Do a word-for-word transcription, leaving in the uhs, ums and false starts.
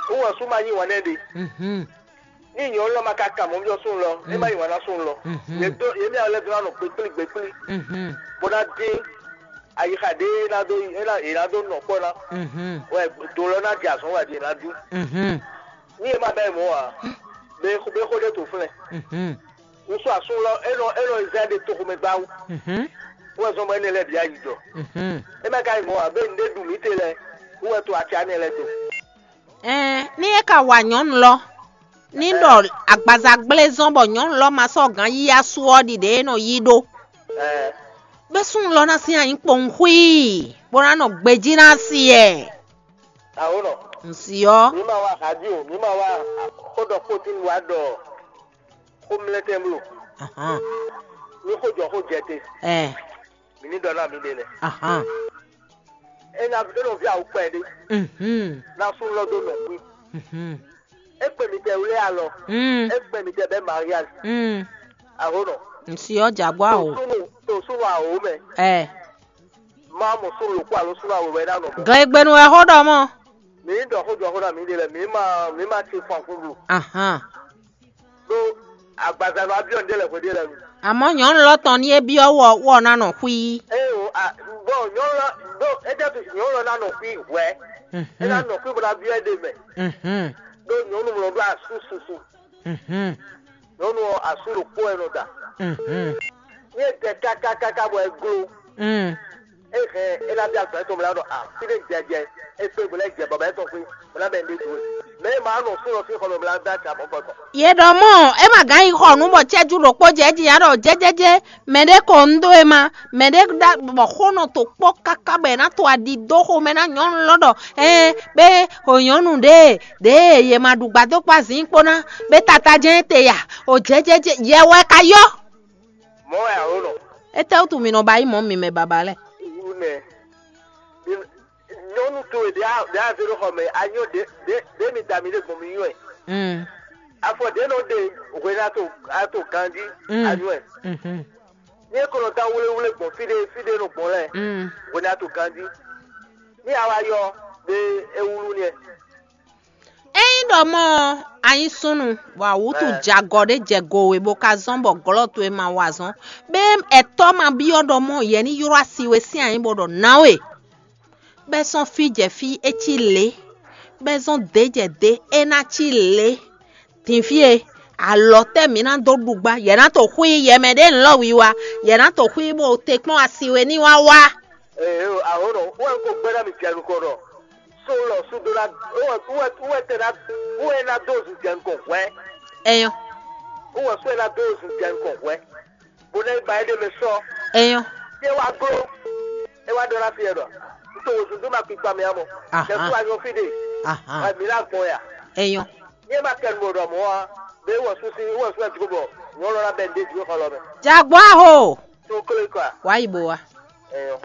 Wɔ sú ma yí wǎn nɛ́ ɖe. Mhm. Ní nyɔ̌nu lɔ ma ka kan mɔ̌ byɔ́ súnnu lɔ, é má yí wǎn ná súnnu lɔ. Mhm. Yě dó yě mɛ lɛ́ɛ dó ná nɔ gbékplí gbékplí, Mhm. bó ná dín ayixa ɖé é ná dó é ná é ná dó nɔ kpɔ́ ná. Mhm. Wɛ do lɔ ná jɛ azɔ̌ wɛ ɖi é ná dú. Mhm. Ní e ma bɛ́ mɔ̌ ǎ, bɛ bɛ xó ɖé to flɛ́. Mhm. Wúsú asún lɔ é nɔ é nɔ zɛ ɖe toxomɛ gbáwú. Mhm. Wɛ zɔn bɔ énɛ́ lɛ́ɛ bǐ ayi jɔ. Mhm. É mɛ ka nyí mɔ̌ ǎ, bɛ nǔɖé ɖu mǐ te lɛ́ɛ, wú wɛ to acá nɛ́ lɛ́ɛ do. Ɛɛ, ní é ka wa nyɔ̌nu lɔ, ní ɖɔ agbaza gblé zɔn bɔ nyɔ̌nu lɔ ma sɔ́ gǎn yí asú ɔ́ ɖiɖe e nɔ yí ɖó. Ɛɛ, Bɛ́ súnnu lɔ ná sín anyǐ kpowun xwíí, bó ná nɔ gbejí ná asi ɛ. Awo nɔ. Nǔ si ɔ́. Mǐ ma wá radio, mǐ ma wá xó ɖɔ xótín wa ɖɔ xó mlɛ́tɛn bló. Ahán. Ní xó jɔ xó jɛ te. Ɛ. Mǐ ní ɖɔ ná mǐ ɖe lɛ. Ahán. É ná é nɔ ví awu kpɛɖé. Mhm. Ná súnnu lɔ dó nɔ xwí. Mhm. É kpɛ mǐtɛɛ wlé alɔ. Mm. É kpɛ mǐtɛɛ bɛ́ mariage. Mm. Aho nɔ. Nsi ɔ́ jagbɔ To awo. Súnnu to súnnu awo mɛ. Ɛ. Má mɔ súnnu lòkú alo súnnu awo wɛ ná nɔ mɔ. Glegbenu wɛ xó ɖɔ mɔ. Mǐ ɖɔ xó jɔ xó ná mǐ ɖe lɛ mǐ ma mǐ ma ti fɔn kún blu. Ahan. Ɖó agbaza nɔ abiɔ ŋɖe lɛ hwe ɖe lɛ nu. Àmọ́ nyɔ̌nu lɔ tɔn ní é byɔ́ wɔ wɔ ná nɔ xwí. Eye o a bɔn nyɔnu lɔ ɖó é jẹ́ tu nyɔnu lɔ ná nɔ xwí hwɛ. É ná Mhm. Nɔ xwí bó ná byɔ́ é ɖe mɛ. Mhm. Ɖó nyɔnu mlɔ ɖó asú susu. Mhm. Nyɔnu ɔ́ asú ɖokpó wɛ nɔ da. Mhm. Ní é tɛ kákákáká bɔ é gló. Mm. É hɛn é ná bí agbɛ̌ tɔn mlá ɖɔ a fí ɖé jɛjɛ é kpé bó lɛ́ jɛ bɔbɔ é tɔn xwé bó ná bɛ ndé dó. Mɛ é ma nɔ fún lɔ fí xɔ mɛ mlá dá ta mɔ̌ gbɔdɔ. Yě ɖɔ mɔ̌, é ma gán yi xɔ nǔ bɔ cɛ́jú ɖokpó jɛ jí ǎ ɖɔ jɛ́jɛ́jɛ́, mɛ ɖé ko un dó e ma, mɛ ɖé ɖa bɔ xó nɔ to kpɔ́ káká bɔ è nǎ to aɖi dó xomɛ ná nyɔ̌nu lɔ ɖɔ ɛɛ bé xo nyɔ̌nu ɖě ɖě yě ma ɖu gbadókpá zǐn kpó ná bé tata jɛ́n te ya o jɛ́jɛ́jɛ́ yɛ wɛ ka yɔ. Mɔ̌ wɛ ǎ ó nɔ. Étɛ́wútu mi nɔ ba yí mɔ̌ mi mɛ baba lɛ́ɛ? Wú nɛ. Nyɔnu towe ɖě a ɖě a zé ɖó xɔ mɛ, a nyɔ ɖě ɖě ɖě mi da mi ɖe gbɔn mi nyɔ ɛ. Mm. Afɔ ɖě nɔ ɖe hwenu a to a to ganjí Mm. A nyɔ ɛ. Mhm. Ní é ko nɔ dán wléwlé gbɔn fí ɖé fí ɖé nɔ gbɔn lɛ Mm. Hwenu a to ganjí. Ní a wá yɔ ɖé é wúlú ní ɛ. Ényí ɖɔ mɔ ɔ́, a nyí súnnu, bɔ awǔtu Ɛ. Jɛ agɔ ɖé jɛ go we bó ka zɔ́n bɔ glɔ́ towe ma wa azɔn, bɛ ɛtɔ́ ma byɔ́ ɖɔ mɔ yɛ ní ylɔ́ asi we sín anyǐ bó ɖɔ ná we. Bɛ́ sɔ́ fí jɛ fí é cí lě, bɛ́ zɔ́n dě jɛ dě é ná cí lě. Din fí e, alɔ tɛ́ mǐ ná dó ɖu gbá? Yɛ ná to xwí yɛ mɛ ɖé lɔ́ wiwa, yɛ ná to xwí bó te kplɔ́n asi we ní wá wá. Ee, ahɔ̌nɔ, wɛ ko gbɛ́ ná mi jɛ nukɔn ɖɔ só lɔ sú dó ná wɛ wɛ wɛ tɛ ná wɛ ná dó zu jɛ nukɔn hwɛ. Ɛyɔ. Wɛ só ná dó zu jɛ nukɔn hwɛ. Bó ná ba é ɖe mɛ sɔ. Ɛyɔ. Yé wá gló. É wá ɖɔ ná fi yɛ ɖɔ. Ntɔ wò zunzun ma kpikpa mɛ amɔ. Aha. Kɛ kú anyɔ fi ɖe. Aha. Wɛ mi ná gbɔn ya. Ɛyɔ. Yé ma kɛ nɔ ɖɔ mɔ wa. Bɛ wɔ susi wɔ susi ati ko bɔ. Nyɔ lɔ la bɛ nde ju xɔ lɔ mɛ. Jagbɔ aho. Tó kle kɔ. Wá yi bo wa. Ɛyɔ.